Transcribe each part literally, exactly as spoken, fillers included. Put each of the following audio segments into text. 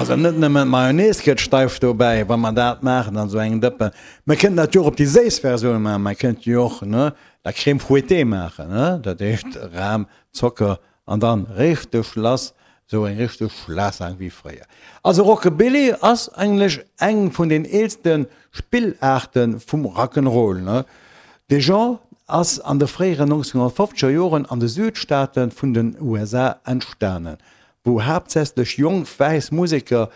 Also net nëmmen d'Mayonnaise gëtt steif dobäi, wa mer dat maachen an esou engem Dëppen. Mer kënnten dat jo och op déi séiss Versioun maachen. Mer kënnten jo och, ne, la Crème fouettée maachen, ne, dat heescht Ram, Zocker an dann richteg lass, esou eng richteg Schlassang wéi fréier. Also Rockabilly ass eigentlech eng vun den eelste Spillaarte vum Rock'n'Roll, ne. De Genre ass an de fréieren nonzénhonnertfofzeger Joren an de Südstaate vun den U S A entstanen, wou haaptsächlech jonk wäiss Museker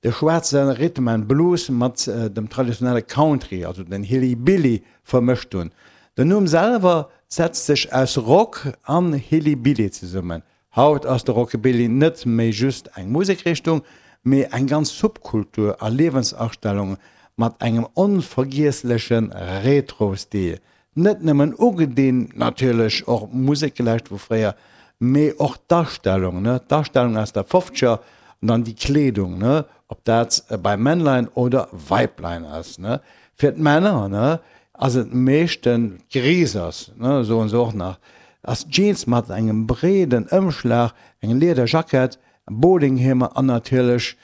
de schwaarze Rhythm and Blues mat dem traditionelle Country, also den Hillybilly, vermëscht hunn. Den Numm selwer setzt sech aus Rock an Hillybilly zesummen. Haut ass de Rockabilly net méi just eng Musekrichtung, mee eng ganz Subkultur a Liewensastellung mat engem onvergiessleche Retro-Stil. Net nëmmen ugedinn, natierlech och Musek gelauschtert vu fréier, mee och d'Astellung, ne, d'Astellung aus der Fofzeger an dann déi Kleedung, ne, ob dat bei Männlein oder Weiblein ass, ne. Fir d'Männer, ne, ass et meeschten d'Grisers, ne, soen se och nach, ass Jeans mat engem breeden Ëmschlag, eng Liederjackett, Bowlinghiemer an natierlech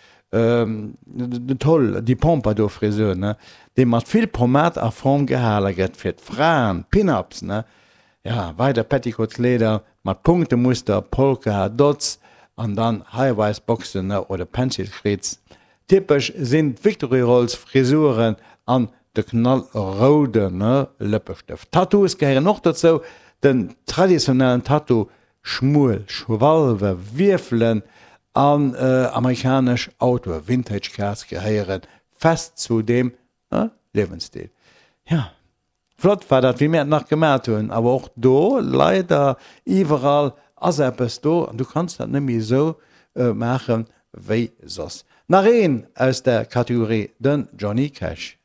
toll, déi Pompadour-Frisur, ne, déi mat vill Pomade a Form gehale gëtt. Fir d'Fraen, Pin-Ups, ne, ja, weider Petticoat-Kleeder mat Punktemuster, Polka Dots an dann High-Rise-Boxen, ne, oder Pencil-Skirts. Typesch sinn d'Victory Rolls-Frisuren an de knallroude Lëppestëft. Tattoos gehéieren och dozou, den traditionellen Tattoo, schmuel Schwalwe, Wierfelen an amerikanesch Autoe, Vintage Cars, gehéiere fest zu deem Liewensstil. Jo, flott war dat, wéi mir et nach gemat hunn, awer och do leider, iwwerall ass eppes do an du kanns dat net méi esou maachen, wéi soss. Nach een aus der Kategorie, den Johnny Cash.